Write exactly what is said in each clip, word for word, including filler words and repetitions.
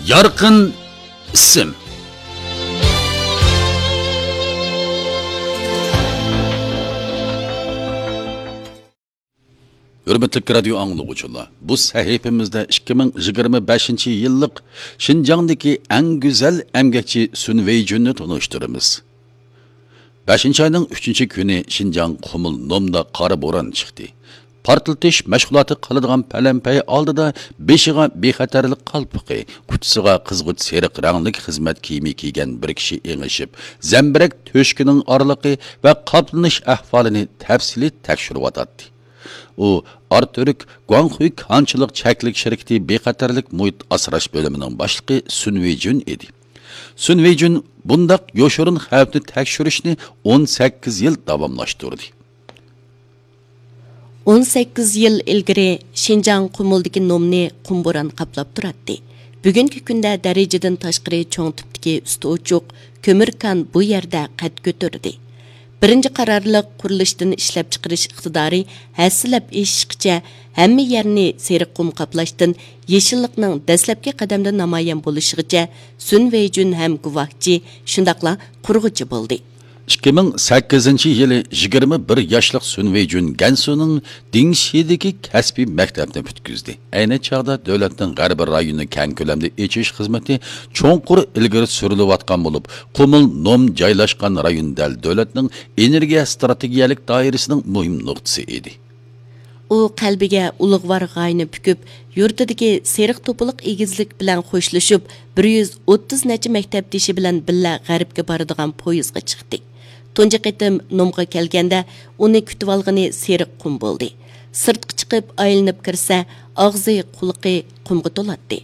يارقىن ئىسىم. ھۆرمەتلىك رادىيو ئاڭلىغۇچىلار، بۇ سەھىپىمىزدە ئىككى مىڭ يىگىرمە بەشىنچى يىللىق شىنجاڭدىكى ئەڭ گۈزەل ئەمگەكچى سۈن ۋېيجۈننى تونۇشتۇرىمىز. بەشىنچى ئاينىڭ ئۈچىنچى كۈنى شىنجاڭ قۇمۇل نومدا قارا بوران چىقتى. پارتلىتىش مەشغۇلاتى قىلىدىغان پەلەمپەي ئالدىدا بېشىغا بىخەتەرلىك قالپىقى، ئۇچىسىغا قىزغۇچ سېرىق رەڭلىك خىزمەت كىيىمى كىيگەن بىر كىشى ئېڭىشىپ، زەمبىرەك تۆشۈكىنىڭ ئارىلىقى ۋە قاپلىنىش ئەھۋالىنى تەپسىلىي تەكشۈرۈۋاتاتتى. ئۇ ئارتۈرك گۇاڭخۇي كانچىلىق چەكلىك شىركىتى بىخەتەرلىك مۇھىت ئاسراش بۆلۈمىنىڭ باشلىقى سۈن ۋېيجۈن ئىدى. سۈن ۋېيجۈن بۇنداق يوشۇرۇن خەۋپنى تەكشۈرۈشنى ئون سەككىز يىل داۋاملاشتۇردى. ئون سەككىز يىل ئىلگىرى شىنجاڭ قۇمۇلدىكى نومنى قۇم بوران قاپلاپ تۇراتتى. بۈگۈنكى كۈندە دەرىجىدىن تاشقىرى چوڭ تىپتىكى ئۈستى ئوچۇق كۆمۈر كان بۇ يەردە قەد كۆتۈردى. بىرىنچى قارارلىق قۇرۇلۇشتىن ئىشلەپچىقىرىش ئىقتىدارى ھەسسىلەپ ئېشىشقىچە ھەممە يەرنى سېرىق قۇم قاپلاشتىن يېشىللىقنىڭ دەسلەپكى قەدەمدە نامايان بولۇشىغىچە سۈن ۋېيجۈن ھەم گۇۋاھچى، شۇنداقلا قۇرغۇچى بولدى. ئىككى مىڭ سەككىزىنچى يىلى يىگىرمە بىر ياشلىق سۈن ۋېيجۈن گەنسۇنىڭ دىڭشىدىكى كەسپىي مەكتەپنى پۈتكۈزدى. ئەينى چاغدا دۆلەتنىڭ غەربىي رايونىنى كەڭ كۆلەمدە ئېچىش خىزمىتى چوڭقۇر ئىلگىرى سۈرۈلۈۋاتقان بولۇپ، قۇمۇل نوم جايلاشقان رايون دەل دۆلەتنىڭ ئېنېرگىيە ئىستراتېگىيەلىك دائىرىسىنىڭ مۇھىم نۇقتىسى ئىدى. ئۇ قەلبىگە ئۇلۇغۋار غايىنى پۈكۈپ، يۇرتىدىكى سېرىق توپىلىق ئېگىزلىك بىلەن خوشلىشىپ، بىر يۈز ئوتتۇز نەچچە مەكتەپدىشى بىلەن بىللە غەربكە بارىدىغان پويىزغا چىقتى. تۇنجى قېتىم نومغا كەلگەندە، ئۇنى كۈتۈۋالغىنى سېرىق قۇم بولدى. سىرتقا چىقىپ ئايلىنىپ كىرسە، ئاغزى، قۇلىقى قۇمغا تولاتتى.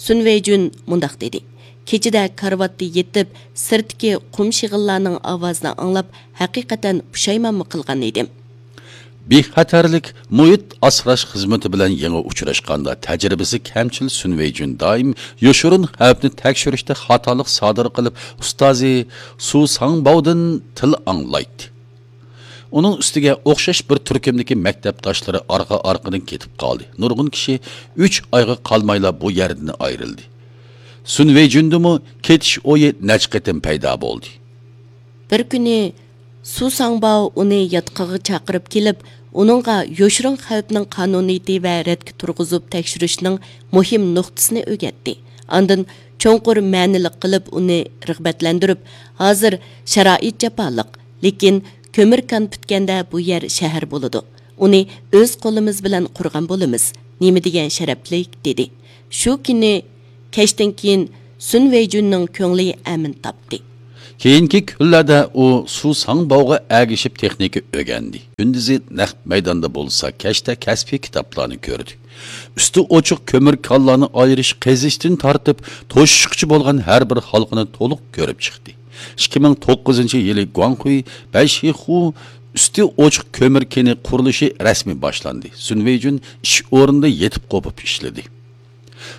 سۈن ۋېيجۈن مۇنداق دېدى: كېچىدە كارىۋاتتا يېتىپ، سىرتتىكى قۇم شېغىللارنىڭ ئاۋازىنى ئاڭلاپ، ھەقىقەتەن پۇشايمانمۇ قىلغان ئىدىم. بىخەتەرلىك مۇھىت ئاسراش خىزمىتى بىلەن يېڭى ئۇچراشقاندا، تەجرىبىسى كەمچىل سۈن ۋېيجۈن دائىم يوشۇرۇن خەۋپنى تەكشۈرۈشتە خاتالىق سادىر قىلىپ، ئۇستازى سۇ ساڭباۋدىن تىل ئاڭلايتتى. ئۇنىڭ ئۈستىگە ئوخشاش بىر تۈركۈمدىكى مەكتەپداشلىرى ئارقا-ئارقىدىن كېتىپ قالدى. نۇرغۇن كىشى ئۈچ ئايغا قالمايلا بۇ يەردىن ئايرىلدى. سۈن ۋېيجۈندىمۇ كېتىش ئويى نەچچە قېتىم پەيدا بولدى. بىر كۈنى سۇ ساڭباۋ ئۇنى ياتىقىغا چاقىرىپ كېلىپ، ئۇنىڭغا يوشۇرۇن خەۋپنىڭ قانۇنىيىتى ۋە رەتكە تۇرغۇزۇپ تەكشۈرۈشنىڭ مۇھىم نۇقتىسىنى ئۆگەتتى. ئاندىن چوڭقۇر مەنىلىك قىلىپ ئۇنى رىغبەتلەندۈرۈپ، ھازىر شارائىت جاپالىق، لېكىن كۆمۈر كان پۈتكەندە بۇ يەر شەھەر بولىدۇ. ئۇنى ئۆز قولىمىز بىلەن قۇرغان بولىمىز. نېمە دېگەن شەرەپلىك، دېدى. شۇ كۈنى كەچتىن كېيىن سۈن ۋېيجۈننىڭ كۆڭلى ئەمىن تاپتى. كېيىنكى كۈنلەردە ئۇ سۇ ساڭباۋغا ئەگىشىپ تېخنىكا ئۆگەندى. كۈندۈزى نەق مەيداندا بولسا، كەچتە كەسپىي كىتابلارنى كۆردى. ئۈستى ئوچۇق كۆمۈر كانلارنى ئايرىش، قېزىشتىن تارتىپ توشۇشقىچە بولغان ھەر بىر ھالقىنى تولۇق كۆرۈپ چىقتى. ئىككى مىڭ توققۇزىنچى يىلى گۇاڭخۇي بەيشىخۇ ئۈستى ئوچۇق كۆمۈر كېنى قۇرۇلۇشى رەسمىي باشلاندى. سۈن ۋېيجۈن ئىش ئورنىدا يېتىپ قوپۇپ ئىشلىدى.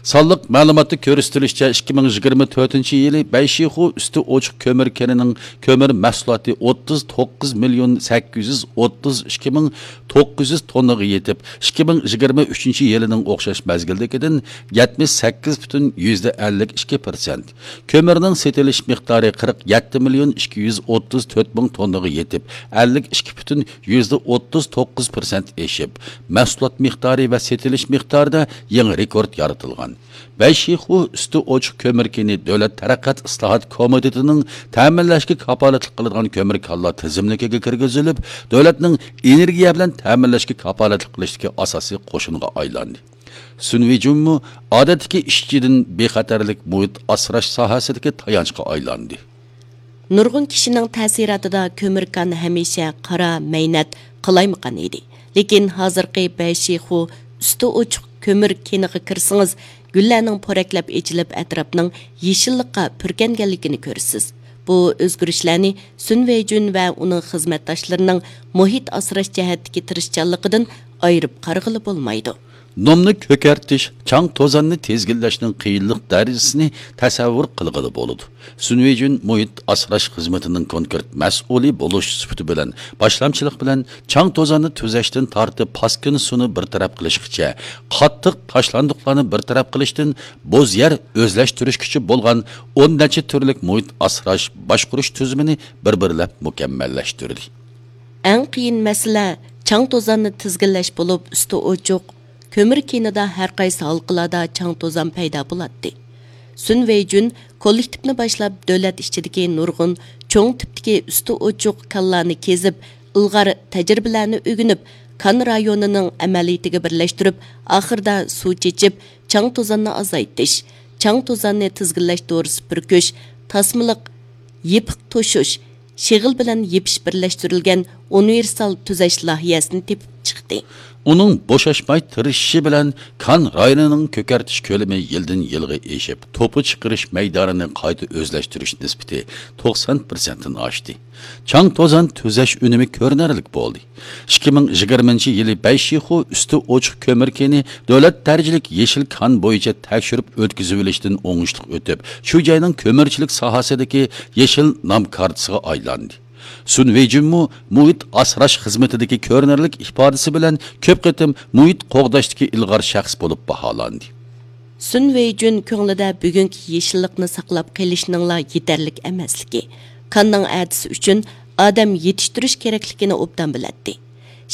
سانلىق مەلۇماتتا كۆرسىتىلىشىچە، ئىككى مىڭ يىگىرمە تۆتىنچى يىلى بەيشىخۇ ئۈستى ئوچۇق كۆمۈر كېنىنىڭ كۆمۈر مەھسۇلاتى ئوتتۇز توققۇز مىليون سەككىز يۈز ئوتتۇز ئىككى مىڭ توققۇز يۈز توننىغا يېتىپ، ئىككى مىڭ يىگىرمە ئۈچىنچى يىلىنىڭ ئوخشاش مەزگىلدىكىدىن يەتمىش سەككىز پۈتۈن يۈزدە ئەللىك ئىككى پىرسەنت، كۆمۈرنىڭ سېتىلىش مىقدارى قىرىق يەتتە مىليون ئىككى يۈز ئوتتۇز تۆت مىڭ توننىغا يېتىپ، ئەللىك ئىككى پۈتۈن يۈزدە ئوتتۇز توققۇز پىرسەنت ئېشىپ، مەھسۇلات مىقدارى ۋە سېتىلىش مىقدارىدا يېڭى رېكورت يارىتىلغان. بەيشىخۇ ئۈستى ئوچۇق كۆمۈر كېنى دۆلەت تەرەققىيات ئىسلاھات كومىتېتىنىڭ تەمىنلەشكە كاپالەتلىك قىلىدىغان كۆمۈر كانلار تىزىملىكىگە كىرگۈزۈلۈپ، دۆلەتنىڭ ئېنېرگىيە بىلەن تەمىنلەشكە كاپالەتلىك قىلىشتىكى ئاساسىي قوشۇنغا ئايلاندى. سۈن ۋېيجۈنمۇ ئادەتتىكى ئىشچىدىن بىخەتەرلىك مۇھىت ئاسراش ساھەسىدىكى تايانچقا ئايلاندى. نۇرغۇن كىشىنىڭ تەسىراتىدا كۆمۈر كان ھەمىشە قارا، مەينەت، قالايمىقان ئىدى. لېكىن ھازىرقى بەيشىخۇ ئۈستى ئوچۇق كۆمۈر كېنىغا كىرسىڭىز، گۈللەرنىڭ پورەكلەپ ئېچىلىپ، ئەتراپنىڭ يېشىللىققا پۈركەنگەنلىكىنى كۆرىسىز. بۇ ئۆزگىرىشلەرنى سۈن ۋېيجۈن ۋە ئۇنىڭ خىزمەتداشلىرىنىڭ مۇھىت ئاسراش جەھەتتىكى تىرىشچانلىقىدىن ئايرىپ قارىغىلى بولمايدۇ. نومنى كۆكەرتىش، چاڭ توزاننى تىزگىنلەشنىڭ قىيىنلىق دەرىجىسىنى تەسەۋۋۇر قىلغىلى بولىدۇ. سۈن ۋېيجۈن مۇھىت ئاسراش خىزمىتىنىڭ كونكرېت مەسئۇلى بولۇش سۈپىتى بىلەن، باشلامچىلىق بىلەن چاڭ توزاننى تۈزەشتىن تارتىپ پاسكىنا سۇنى بىر تەرەپ قىلىشقىچە، قاتتىق تاشلاندۇقلارنى بىر تەرەپ قىلىشتىن بوز يەر ئۆزلەشتۈرۈشكىچە بولغان ئون نەچچە تۈرلۈك مۇھىت ئاسراش باشقۇرۇش تۈزۈمىنى بىر-بىرلەپ مۇكەممەللەشتۈردى. ئەڭ قىيىن مەسىلە چاڭ توزاننى تىزگىنلەش بولۇپ، ئۈستى ئوچۇق، كۆمۈر كېنىدا ھەر قايسى ھالقىلاردا چاڭ توزان پەيدا بولاتتى. سۈن ۋېيجۈن كوللېكتىپنى باشلاپ، دۆلەت ئىچىدىكى نۇرغۇن چوڭ تىپتىكى ئۈستى ئوچۇق كانلارنى كېزىپ، ئىلغار تەجرىبىلەرنى ئۆگىنىپ، كان رايونىنىڭ ئەمەلىيىتىگە بىرلەشتۈرۈپ، ئاخىرىدا سۇ چېچىپ، چاڭ توزاننى ئازايتىش، چاڭ توزاننى تىزگىنلەش دورىسى پۈركۈش، تاسمىلىق، يېپىق توشۇش، شېغىل بىلەن يېپىش بىرلەشتۈرۈلگەن ئۇنىۋېرسال تۈزەش لايىھەسىنى تېپىپ چىقتى. ئۇنىڭ بوشاشماي تىرىشىشى بىلەن كان رايونىنىڭ كۆكەرتىش كۆلىمى يىلدىن يىلغا ئېشىپ، توپا چىقىرىش مەيدانىنى قايتا ئۆزلەشتۈرۈش نىسبىتى توقسان پىرسەنتتىن ئاشتى. چاڭ توزان تۈزەش ئۈنۈمى كۆرۈنەرلىك بولدى. ئىككى مىڭ يىگىرمىنچى يىلى بەيشىخۇ ئۈستى ئوچۇق كۆمۈر كېنى دۆلەت دەرىجىلىك يېشىل كان بويىچە تەكشۈرۈپ ئۆتكۈزۈۋېلىشتىن ئوڭۇشلۇق ئۆتۈپ، شۇ جاينىڭ كۆمۈرچىلىك ساھەسىدىكى يېشىل نام كارتىسىغا ئايلاندى. سۈن ۋېيجۈنمۇ مۇھىت ئاسراش خىزمىتىدىكى كۆرۈنەرلىك ئىپادىسى بىلەن كۆپ قېتىم مۇھىت قوغداشتىكى ئىلغار شەخس بولۇپ باھالاندى. سۈن ۋېيجۈن كۆڭلىدە بۈگۈنكى يېشىللىقنى ساقلاپ قېلىشنىڭلا يېتەرلىك ئەمەسلىكى، كاننىڭ ئەتىسى ئۈچۈن ئادەم يېتىشتۈرۈش كېرەكلىكىنى ئوبدان بىلەتتى.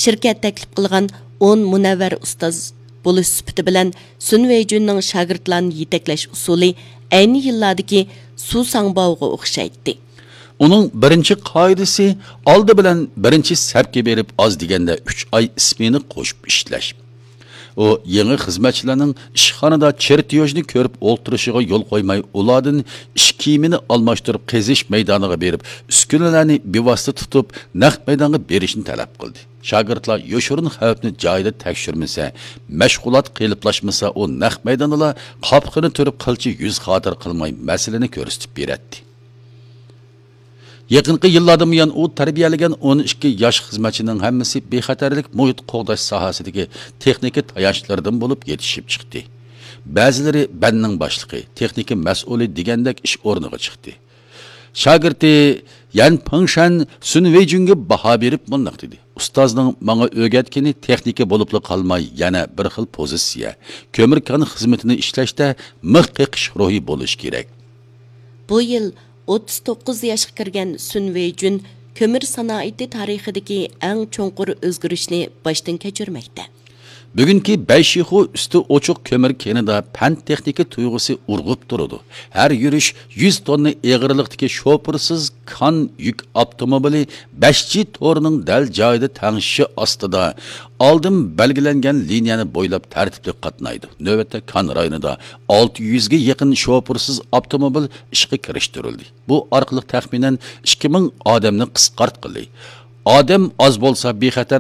شىركەت تەكلىپ قىلغان ئون مۇنەۋۋەر ئۇستاز بولۇش سۈپىتى بىلەن سۈن ۋېيجۈننىڭ شاگىرتلارنى يېتەكلەش ئۇسۇلى ئەينى يىللاردىكى سۇ ساڭباۋغا ئوخشايتتى. ئۇنىڭ بىرىنچى قائىدىسى، ئالدى بىلەن بىرىنچى سەپكە بېرىپ، ئاز دېگەندە ئۈچ ئاي ئىسمېنا قوشۇپ ئىشلەش. ئۇ يېڭى خىزمەتچىلەرنىڭ ئىشخانىدا چېرتيوژنى كۆرۈپ ئولتۇرۇشىغا يول قويماي، ئۇلاردىن ئىش كىيىمىنى ئالماشتۇرۇپ، قېزىش مەيدانىغا بېرىپ، ئۈسكۈنىلەرنى بىۋاسىتە تۇتۇپ، نەق مەيدانغا بېرىشنى تەلەپ قىلدى. شاگىرتلار يوشۇرۇن خەۋپنى جايىدا تەكشۈرمىسە، مەشغۇلات قېلىپلاشمىسا، ئۇ نەق مەيداندىلا قاپىقىنى تۈرۈپ، قىلچە يۈز خاتىرە قىلماي مەسىلىنى كۆرسىتىپ بېرەتتى. يېقىنقى يىللاردىن بۇيان ئۇ تەربىيەلىگەن ئون ئىككى ياش خىزمەتچىنىڭ ھەممىسى بىخەتەرلىك مۇھىت قوغداش ساھەسىدىكى تېخنىكا تايانچلىرىدىن بولۇپ يېتىشىپ چىقتى. بەزىلىرى بەننىڭ باشلىقى، تېخنىكا مەسئۇلى دېگەندەك ئىش ئورنىغا چىقتى. شاگىرتى يەن پېڭشەن سۈن ۋېيجۈنگە باھا بېرىپ مۇنداق دېدى: «ئۇستازنىڭ ماڭا ئۆگەتكىنى تېخنىكا بولۇپلا قالماي، يەنە بىر خىل پوزىتسىيە، كۆمۈر كان خىزمىتىنى ئىشلەشتە مىخ قېقىش روھى بولۇشى كېرەك.» بۇ يىل ئوتتۇز توققۇز ياشقا كىرگەن سۈن ۋېيجۈن كۆمۈر سانائىتى تارىخىدىكى ئەڭ چوڭقۇر ئۆزگىرىشنى باشتىن كەچۈرمەكتە. بۈگۈنكى بەيشىخۇ ئۈستى ئوچۇق كۆمۈر كېنىدا پەن تېخنىكا تۇيغۇسى ئۇرغۇپ تۇرىدۇ. ھەر يۈرۈش يۈز توننا ئېغىرلىقتىكى شوپۇرسىز كان يۈك ئاپتوموبىلى بەش جى تورىنىڭ دەل جايىدا تەڭشىشى ئاستىدا ئالدىن بەلگىلەنگەن لىنىيەنى بويلاپ تەرتىپلىك قاتنايدۇ. نۆۋەتتە كان رايونىدا ئالتە يۈزگە يېقىن شوپۇرسىز ئاپتوموبىل ئىشقا كىرىشتۈرۈلدى. بۇ ئارقىلىق تەخمىنەن ئىككى مىڭ ئادەمنى قىسقارتقىلى. ئادەم ئاز بولسا بىخەتەر